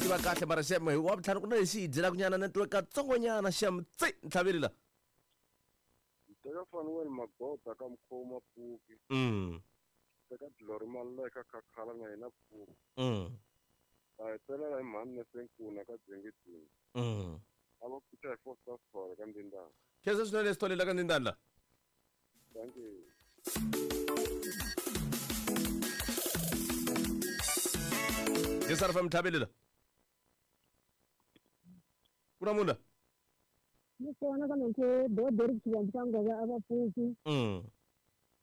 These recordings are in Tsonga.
tiva kahle mara xem hi wa vutlhanu ku na lexi hi dyelaka nyana network katsongonyana xem tsi ntlhaveli la. Teka Fanuel Magoda ka Mkhoma Pfuki. Teka Glory Maluleka Khakhala na yena Pfuki. Ta hetelela hi mhani Nesenkuna ka Dzengedzenge. A va pfuxa hi Foster Sithole ka Ndindana. Khensa swinene Sithole la ka Ndindana la. Thank you. Jesar FM ntlhaveli la. Ku na munhu la? Ni kona ka mekhe bo Derek Xivandzi ka Ngove a va pfuki.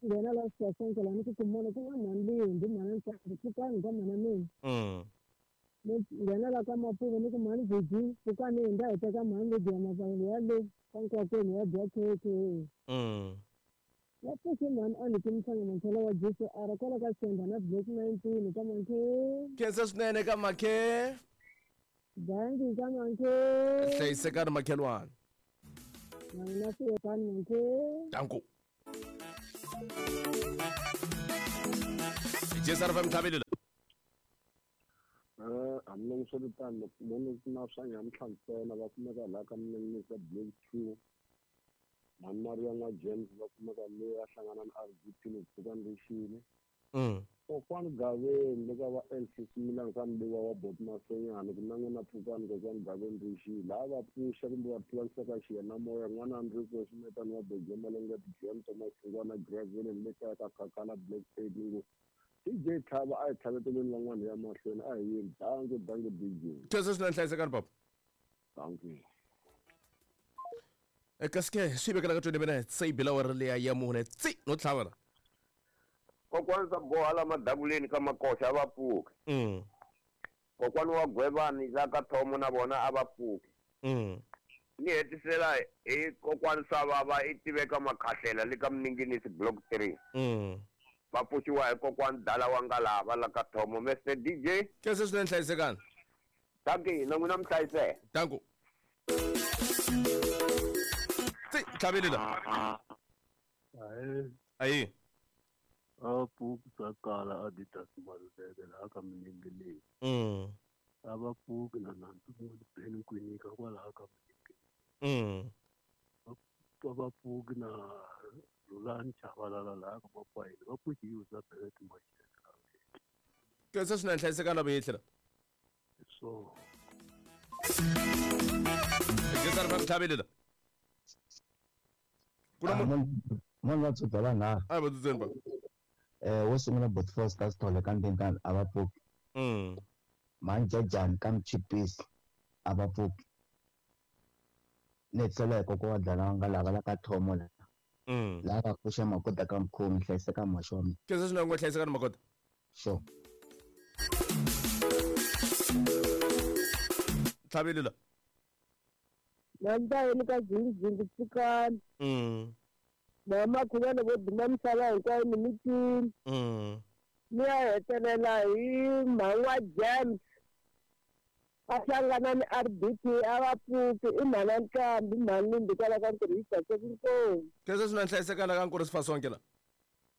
Nghena la Sasonke la ni ku kumona ku nga mhani Lindi mhani Ntlhambi pfukani ka mhana mina. Ni nghena la ka Mapuve ni ku mhani Vigi pfukani hi nda hi teka mhani Lydia Mavangelo ya le ka nkwakweni ya dya khekhe. Ya pfuxe mhani a ni ki Mhlanga Mankhela wa GCR kwala ka Senda na Block 19 ka Mankhe. Khensa swinene ka Makhe. Danki ka Mankhe. Hlayisekani makhelwani. Na n'wina siyekani Mankhe. Danko. Jesar FM ntlhaveli la. Hambiloko loko na swa nyamuntlha ntsena va kumeka laha ka Minenginisi Block 2. Mhani Maria na James va kumeka le a hlangana na RDP loko pfukani rixile. Kokwani Gaveni le ka va LC Similani ka Mbiwa wa Bot Masenyani ku na n'wina pfukani kokwani Gaveni rixile. Laha va pfuxa kumbe va tivanisa ka xiyanimoya n'wana Andriko Swimetani wa Beje Malenga Tijiani Thomas Xingwana Gravelen le kaya ka Khakhala Black Tape ngo DJ Tlhava a hi tlhaveteleni van'wana hi ya mahlweni a hi yeni. Danko danko DJ. Khensa swinene hlayisekani papa. Danko. Kasi ke swi vekela ka 20 minutes se yi bela awara liya ya mune tsi no tlhava la. Kokwani swa boha la madavuleni ka makoxa a va pfuki. Kokwani wa Gwevani la ka Thomo na vona a va pfuki. Ni hetisela hi kokwani swa vava i tiveka makhahlela le ka Mninginisi Block 3. Va pfuxiwa hi kokwani Dala wa Ngalava la ka Thomo. Mr DJ. Khensa swinene hlayisekani. Danki na n'wina mi hlayiseka. Danko. Tsi ntlhaveli la. Ayi. A pfuki swa kala Adidas Maluleke laha ka Minengeleni. A va pfuki na nandzu Ben Kwinika kwalaha ka Minengeleni. Va va pfuki na Rhulani Chabalala laha ka Mapayini. Va pfuki hi Elizabeth Mashele. Khensa swinene hlayisekani la vuyehlela. So. Jesar FM ntlhaveli la. Ku na munhu Munhu wa tshuka va nharhu. A hi va tsutseni ba. Wo sungula Bot Foster Sithole ka Ndengani a va pfuki. Mhani Jajani ka Mchipisi a va pfuki. Ni hetisela hi kokwa wa Dlala nga lava la ka Thomo la. Laha va pfuxa Magoda ka Mkhomi hlayiseka muhaxi wa mina. Khensa swinene ngo hlayisekani Magoda. Sure. Ntlhaveli la. Nantayeni ka Zingizingi pfukani. Mama Khuvana vo duma misava hinkwayo ni mitini. Ni ya hetelela hi mhani wa James. A hlangana ni RDP a va pfuki i mhana Nkambi mhani Lindi kwala ka ntirho yi tsakise inkomu. Khensa swinene hlayisekani ka Nkurisi Fasonke la.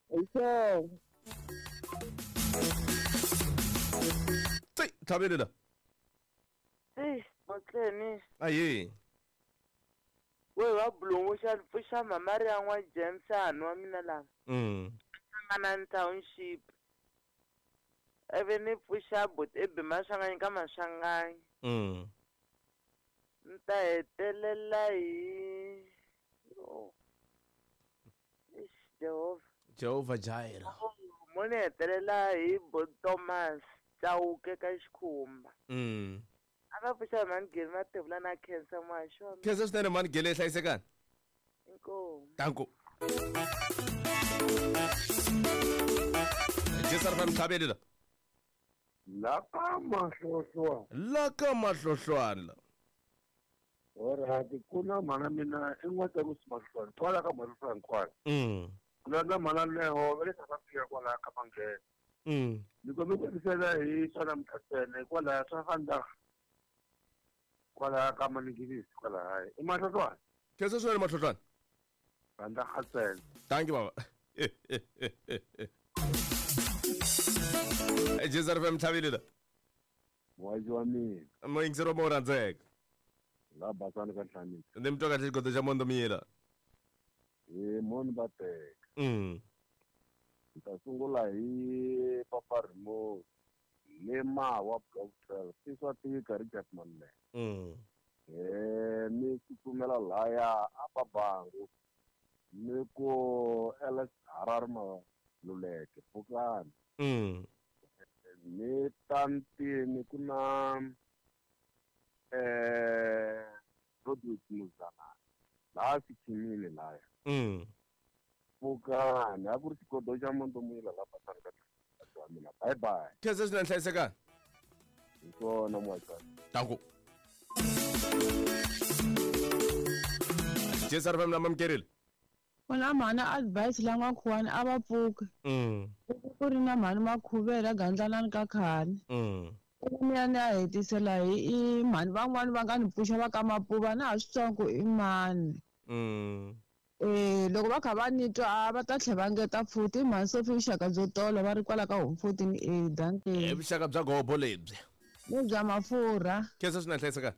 Hi swona. Tsi ntlhaveli la. Tsi Motleni. Ayi. We va Bulungu xa pfuxa Mamaria n'wa James a nwa mina la. Hlangana ni township. Ivi ni pfuxa but ebi Maswanganyi ka Maswanganyi. Ni ta hetelela hi oh. Eish, Jehovah. Jehovah Jireh. Oh, mo ni hetelela hi bo Thomas Chauke ka Xikhumba. A va pfuxa hi Mhani Gele Mathebula na Khensa muhaxi wa mina. Khensa swinene Mhani Gele hlayisekani. Inkomu. Danko. Jesar FM ntlhaveli la. La ka Mahlohlwana. La ka Mahlohlwana la. Alright, ku na mhana mina i n'wa Tsakusi Mahlohlwana kwala ka Mahlohlwana kwala. Ku na mhana Leho va le South Africa kwala ka Manghena. Ni kombela ku hetisela hi swa namuntlha ntsena hikwalaho swa Vandag kwala ka Maningilisi kwalahaya. I Mahlohlwana. Khensa swinene Mahlohlwana. Vandag ntsena. Thank you baba. Jesar FM ntlhaveli la. Muhaxi wa mina. Muyingiseri wa mo rhandzeka. La basani ka Nhlanisi. Ni mi twa kahle xigodo xa Mondo Miyela. Hi moni va teka. Ni ta sungula hi Papa Remote. Le Mawa Block 12. I swa tika Richard Maluleke. Ni tsutsumela laya a Babangu. Ni ku LS Harare Maluleke pfukani. Ni ta ntini ku na Rodwick Muzana laha Sikhimini laya. Pfukani a ku ri xigodo xa Mondo Muyila la basani ka wa mina. Bye bye. Khensa swinene, hlayisekani. Hi swona muhaxani. Danko. Jesu ri famila mamukerile. Ku na mhani advice la n'wakhuwani a va pfuki. Ku ri na mhani Makhuvela gandlanani ka khale. Ni ya ni ya hetisela hi i mhani van'wani va nga ni pfuxa va ka Mapuva na ha swi twangi ku i mani. Loko va kha va ni twa a va ta tlhela va ngeta futhi i mhani Sophie vuxaka byo tolo va ri kwala ka home 14 A dankie. Vuxaka bya gobo lebyi. Ni bya mafurha. Khensa swinene, hlayisekani.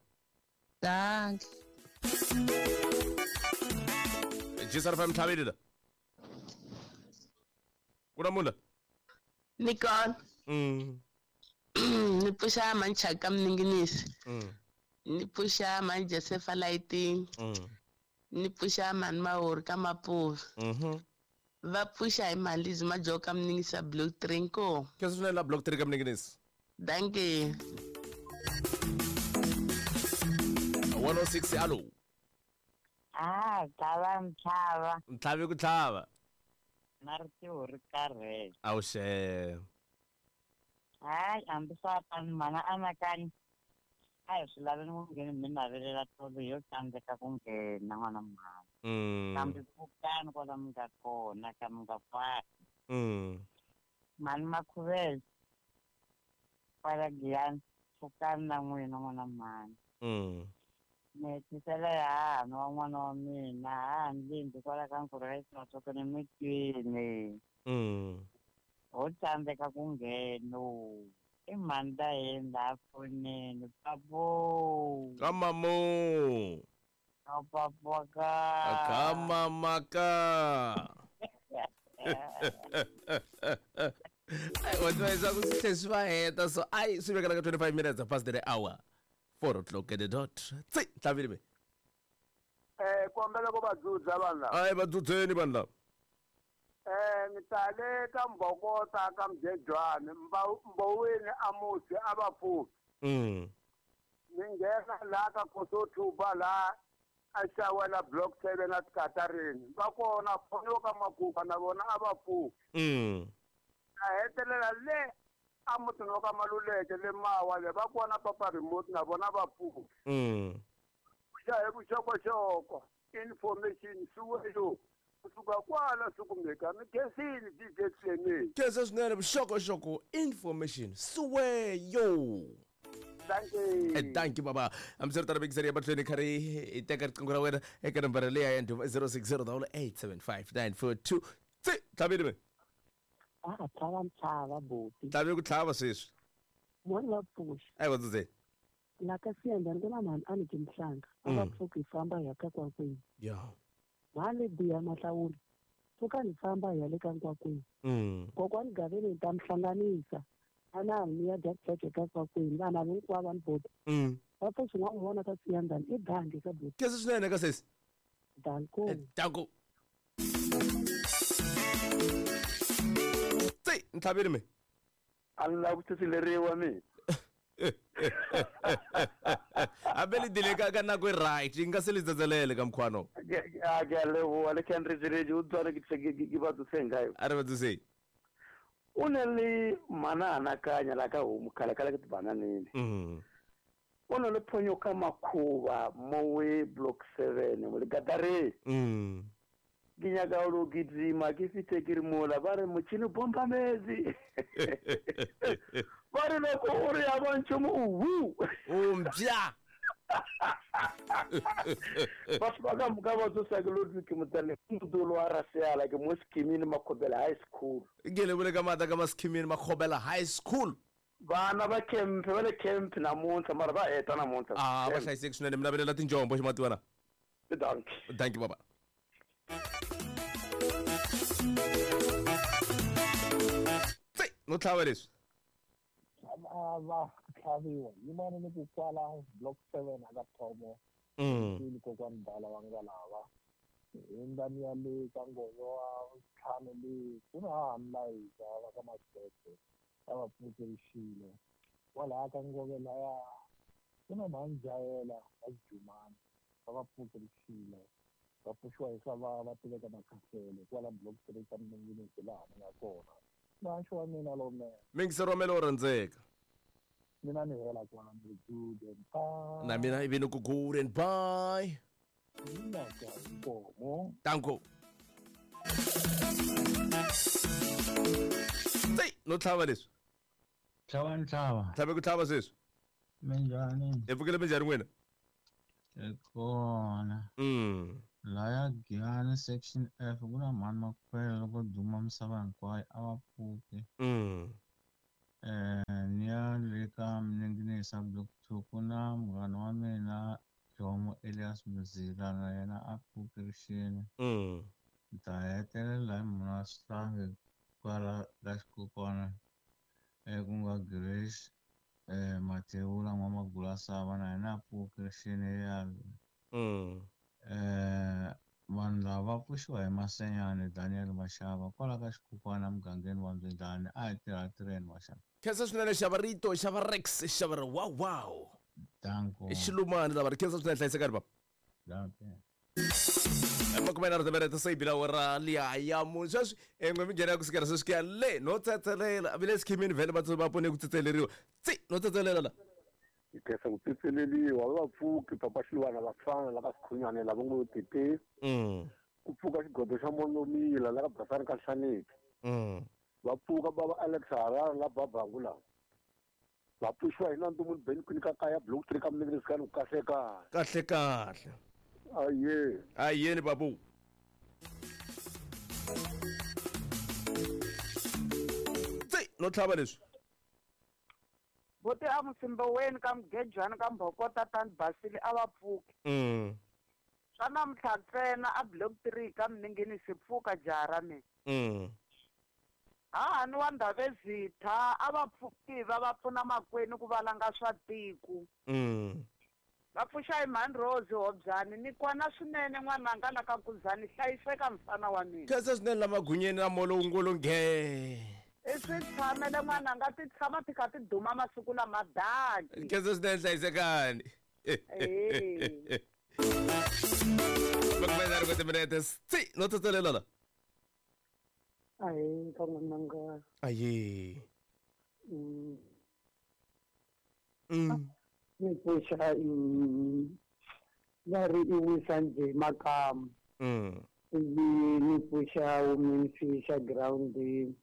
Dankie. Jesu ri famila tlhaveli la. Ku na munhu la? Ni kona. Ni pfuxa mhani Chaka Mninginisi. Ni pfuxa mhani Josefa Lighting. Ni pfuxa mhani Mahori ka Mapuva. Va pfuxa hi mhani Lizi Majoka Mninginisi Block 3 nko. Khensa swinene la Block 3 ka Mninginisi. Dankie. 106 alo. Ah, tlhava ntlhava. Ntlhavi ku tlhava. Na ritiho ri karhele. Awuxe. Hayi, hambi swa tani mana anakanya. A hi swi laveni ku nghena mi navelela tolo yo tsandzeka ku nghena n'wana mhani. Kambe pfukani kwala mi nga kona ka mi nga faki. Mhani Makhuvele kwala Giyani pfukani na n'wina n'wana mhani. Ni hetisela ya hahani wa n'wana wa mina hahani Lindi kwala ka Nkurha Xitsonga ni mi twini. Ho tsandzeka ku nghena. I mhani ta yini laha fonini papo. Ka mamo. Ka papo ka. Ka mama ka. Wa tiva leswaku swi tlhe swi va heta so ai swi vekela ka 25 minutes past the hour. 4 o'clock at the dot. Tsi, tlhavile me. Kombela ku va dzudza vanhu lava. Ai va dzudzeni vanhu lava. Ni tale ka Mbokota ka Mjejwani, Mboweni a musi a va pfuki. Ni nghena laha ka Kosothuba laha a xawela Block 7 a Tikatarini. Va kona phonyo ka Makuva na vona a va pfuki. A hetelela le a mutini wa ka Maluleke le Mawa le va kona Papa Remote na vona va pfuki. Xa hi vuxokoxoko information suweyo kusuka kwala swi kumeka mi khensini DJ Clement. Khensa swinene vuxokoxoko information suweyo. Thank you. Thank you baba. Hambiswiritano mikiseri ya mahlweni kha ri hi teka riqingho ra wena eka nambara leyi ya 06087594 tsi tlhavile me. A tlhava ntlhava buti. Tlhavi ku tlhava sweswi. Moni va pfuxa. Ai va dzudzeni. La ka Siyanda ni ku na mhani a ni ki Mhlanga. A va pfuki hi famba hi ya ka Kwakwini. Mhani biha Mahlawula. Pfuka ni famba hi ya le ka Nkwakwini. Kokwani Gaveni ni ta mi hlanganisa. A na ni ya dya khekhe ka Kwakwini. Vana hinkwavo va ni buti. Va pfuxi n'wa vona ka Siyandani i dangi ka buti. Khensa swinene ka sesi. Danko. Danko. Tsi, ntlhavile me. A ni lavi ku tshitshileriwa mina. Hambi le dile ka nako e right yi nga se le tsatselele ka mkhwano. A ke a leboha le Kendrick Rage o tsware ke ke ba tsoseng kae. A re ba tsoseng. O ne le mana anakanya la ka homu khale khale ke tibananini. O ne le phonyo ka Makhuva mowe Block 7 mo le Gadareng. Ke nyaka o lo gidima ke fithe ke re mola ba re motšhini bomba metsi. Ba re loko o re ya bontšho mo o wu. O mpša. Batho ba ka moka ba tsosa ke lo ke motsale modolo wa Raseala ke mo Skimini Makhobela High School. Ke le bole ka maata ka ma Skimini Makhobela High School. Vana va camp va le camp namuntlha mara va heta namuntlha. Ah, va hlayiseki swinene mi navelela tinjombo ximatiwana. Dankie. Dankie baba. Tsi, no tlhava leswi. A va tlhaviwa yimani ni ku kwala block 7 aka thomo. Kokwani dala va nga lava. Hindani ya le ka nghoyo wa ntlhanu le ku na hahani layita va ka Maxeke a va pfukerixile kwalaya ka ngove laya ku na mhanjayela va Jumani va va pfukerixile va pfuxiwa hi swa va va tiveka makhahlele kwala block 3 ka Minginisi laha ni nga kona. Muhaxi wa mina lowunene. Mingisero wa mina lowo rhandzeka. Mina ni hela kwala ni ri good and bye. Na mina ivi ni ku good and bye. Nkomo. Danko. Tsi, no tlhava leswi. Tlhava ni tlhava. Tlhave ku tlhava sweswi. Minjhani? Hi pfukile minjhani n'wina? Hi kona. Laya Giyani section F ku na mhani Makhwela loko duma misava hinkwayo a va pfuki. Ni ya le ka Mninginisa block 2 ku na munghana wa mina Jomo Elias Mzila na yena a pfukerixini. Ni ta hetelela hi mhana Sihlangi kwala ka xikokwana ku nga Grace Mathebula N'wamagula na yena a pfukerixini ya vanhu lava va pfuxiwa hi Masenyani Daniel Mashava kwala ka xikokwana mugangeni wa Mbyindlani a hi tirha tirheni Mashava. Khensa swinene xava rito xava Rex xava ri wow wow. Danko. I xilumani lava ri khensa swinene hlayisekani baba. Danko. Makume timinete se yi bile awara liya ya mune sweswi n'we mi nghena kusukela sweswi ku ya le no tsetselela vi le sikhimini vhele va va pone ku tsetseleriwa tsi no tsetselela la. Hi khensa ku tsetseleriwa va pfuki papa Xilwana vafana la ka Sikhunyane lava ngo tete. Ku pfuka xigodo xa Monomila la ka Basani ka Hlaneki. Va pfuka baba Alex Harare la Babangu la. Va pfuxiwa hi Nandu Ben Queen ka kaya block 3 ka Mninginisani kahle kahle. Kahle kahle. Aye. Ayeni babu. Tsi, no tlhava leswi. Bote a Musimboweni ka Mugejwana ka Mbhokota tani Basile a va pfuki. Swa namuntlha ntsena a block 3 ka Mninginisi pfuka jaha ra mina. Hahani wa Ndhavezitha a va pfuki va va pfuna makwenu ku valanga swa tiko. Va pfuxa hi Mhani Rose Hobyani ni kwana swinene n'wananga la ka Kuzani hlayiseka mfana wa mina. Khensa swinene la magunyeni la molo ngolo nge. I swi tshamele n'wananga ti tshama ti kha ti duma masiku lama daki. Khensa swinene hlayisekani. Makume nharhu timinete tsi no tsetselela la. Ayi ka n'wananga. Ayi. Ni pfuxa va ri i wisa njhe makamu. Ivi ni pfuxa women fisha groundini.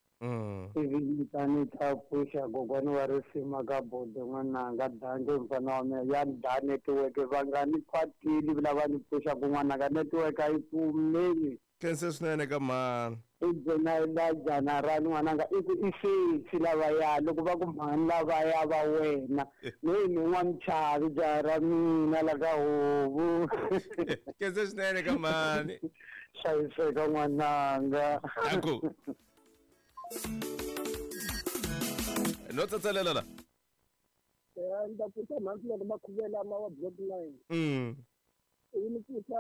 Ivi ni ta ni ta pfuxa kokwana wa risima ka bodo n'wananga danke mfana wa mina ya da netiweke va nga ni kwatili lava ni pfuxaku n'wananga netiweke a yi pfumeli. Khensa swinene ka mhani. I byela la jana ra n'wananga i ku i sesi lavaya loko va ku mhani lavaya va wena ni ni n'wamchavi jaha ra mina la ka hovu. Khensa swinene ka mhani. Hlayiseka n'wananga. Danko. No tsetselela la. Ni ta pfuxa mhani loko makhuvela ma wa block 9. Ivi ni pfuxa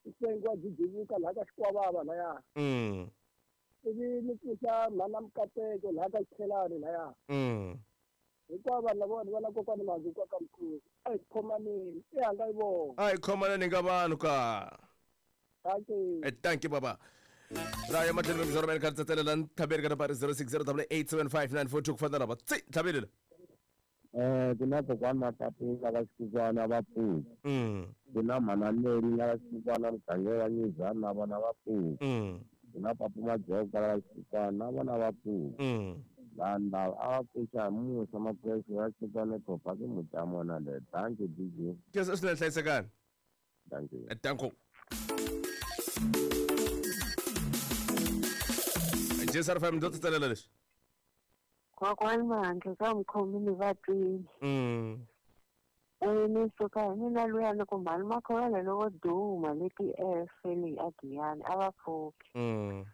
nsengo wa Jijivuka laha ka Xikwavava laya. Ivi ni pfuxa mhana Mukateko laha ka Xikhelani laya. Hinkwavo vanhu lavawani va na kokwani Mazukwa ka mkhuzu. A hi khomaneni, i hanga yi vona. A hi khomaneni ka vanhu ka. Dankie. Dankie baba. Ra ya matlhelo mi zero kha tsetselela ntlhaveri ka nambara 0608875942 ku fana lava. Tsi, ntlhaveri la. Ku na kokwana Matapula va Xikukwana va pfuka. Ku na mhana Mary la va Xikukwana mugangeni wa Nyizana na vona va pfuka. Ku na Papu Majoka la va Xikukwana na vona va pfuka. Vanhu lava a va pfuxa hi musa maphuresi va Xikukwana Khopa ke mutamona le. Dankie DJ. Khensa swinene hlayisekani. Dankie. Danko. JSR 5 ndo tsetselela leswi. Kokwani Mahandle ka mukhomi ni va twini. Ni suka hi mina luya ni ku mhani Makhovela lowo duma leti efele a Giyani a va pfuki.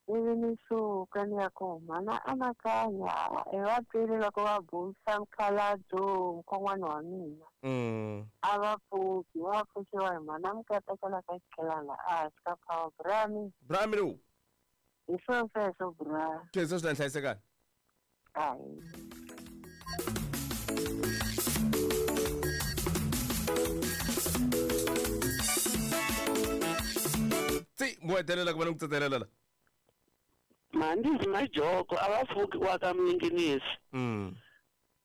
Ivi ni suka ni ya ku mhana anakanya hi va twile loko va busa mukhalabyo mukon'wana wa mina. A va pfuki, va pfuxiwa hi mhana Mukatekela ka Xikhelana a hansi ka power brami. Brami lowu. Hi swo sweswo bra. Khensa swinene hlayisekani. Hayi. Tsi, mo hetelela ku va ni ku tsetselela la. Mhandzi Majoko a va pfuki wa ka Mninginisi.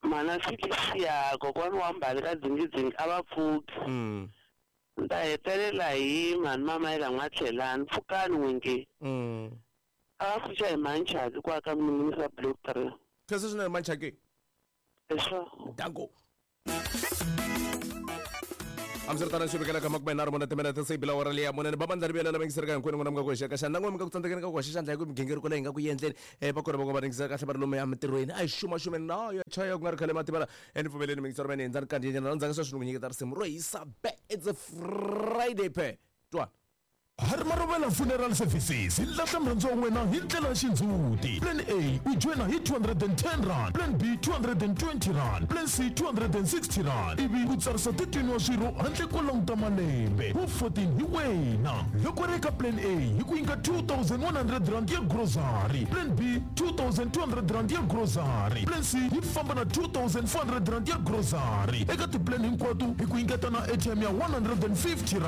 Mhana Felicia kokwani wa Mbali ka Dzingidzingi a va pfuki. Ni ta hetelela hi mhani Mamayela N'watlhelani pfukani n'winge. A va pfuxa hi Manchaki kwa ka Mninginisi wa Block 3. Khensa swinene Manchaki. Eswo. Danko. Hambiswiritano swi vekela ka makume nharhu mune timinete se yi bila awara leyi ya mune ni ba bandla ri vuyela lama yingiseraka hinkwenu n'wina mi nga ku hoxeka xandla n'we mi nga ku tsandzekeni ka ku hoxa xandla hi ku migingiriko leyi hi nga ku endleni um va kona va nga va ringisela kahle va ri lomu ya mintirhweni a hi xumaxumeni na ya chaya ku nga ri khale mativala e ni pfumeleni miyingisero mene hindza ni kandziyenyana na ndzhaku sweswi ni ku nyiketa risimu ro hisa be it's a Friday pe twana. Harimarovela Funeral Services yi lahla murhandziwa wa wena hi ndlela ya xindzhuti. Plan A u joyina hi R210, Plan B R220, Plan C R260 ivi u tsarisa 13 wa swirho handle ko languta malembe. Wu 14 hi wena. Loko ri eka Plan A hi ku nyika R2100 ya grocery, Plan B R2200 ya grocery, Plan C yi famba na R2400 ya grocery. Eka ti-plan hinkwato hi ku nyiketa na airtime ya R150.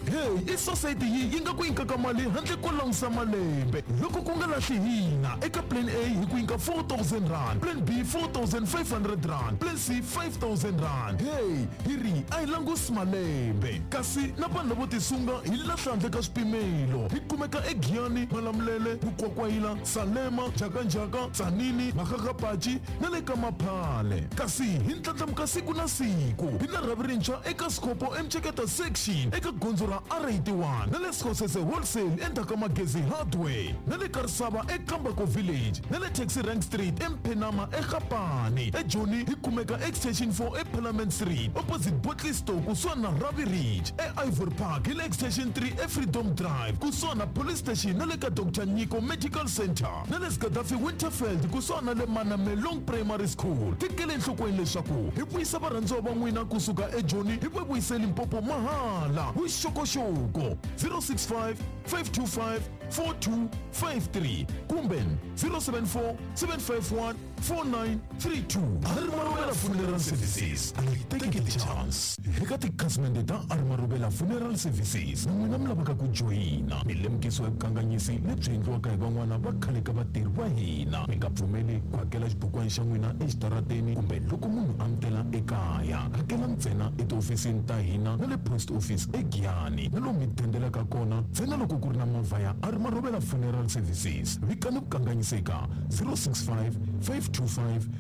Hey, i society yi yi nga ku nyikaka mali handle ko langusa malembe. Loko ku nga lahli hina, eka Plan A hi ku nyika R4000, Plan B R4500, Plan C R5000. Hey, hi ri a hi langusi malembe. Kasi na vanhu lavo tisunga hi lahla handle ka swipimelo. Hi kumeka eGiyani, Malamulele, Mukwakwayila, Salema, Njhakanjhaka, Tzaneen, Makgakgapachi na le ka Maphale. Kasi hi ndlandlamuka siku na siku. Hi na rhavi rintshwa eka Skhopho eMceketa Section eka gondzo ra R81 na le Skhosese Wholesale endzhaku ka Magezi Hardware na le Karisava eKambako Village na le Taxi Rank Street eMphenama eGapane. EJoni hi kumeka Extension 4 eParliament Street opposite Bottle Store kusuhani na Ravi Ridge. E-Ivory Park hi le Extension 3 eFreedom Drive kusuhani na Police Station na le ka Doctor Nyiko Medical Centre na le Gaddafi Winterveld kusuhani na le Manamelong Primary School. Tekela enhlokweni leswaku hi vuyisa varhandziwa va n'wina kusuka eJoni hi va vuyise Limpopo mahala. Vuxokoxoko 065 525 4253 kumbe 074 751 4932. Arimarobela Funeral Services a yi teki ti-chance. Eka tikhasimende ta Arimarobela Funeral Services na n'wina mi lavaka ku joyina, mi lemukisiwa hi vukanganyisi lebyi endliwaka hi van'wana va khale ka vatirhi va hina. Mi nga pfumeli ku hakela xibukwana xa n'wina exitarateni kumbe loko munhu a mi tela ekaya. Hakela ntsena etihofisini ta hina na le post office eGiyani na lomu mi dendelaka kona ntsena loko ku ri na movha ya Arimarobela Funeral Services. Vikani vukanganyisi eka 065 525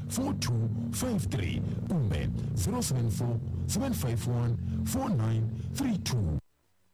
4253 kumbe 074 751 4932.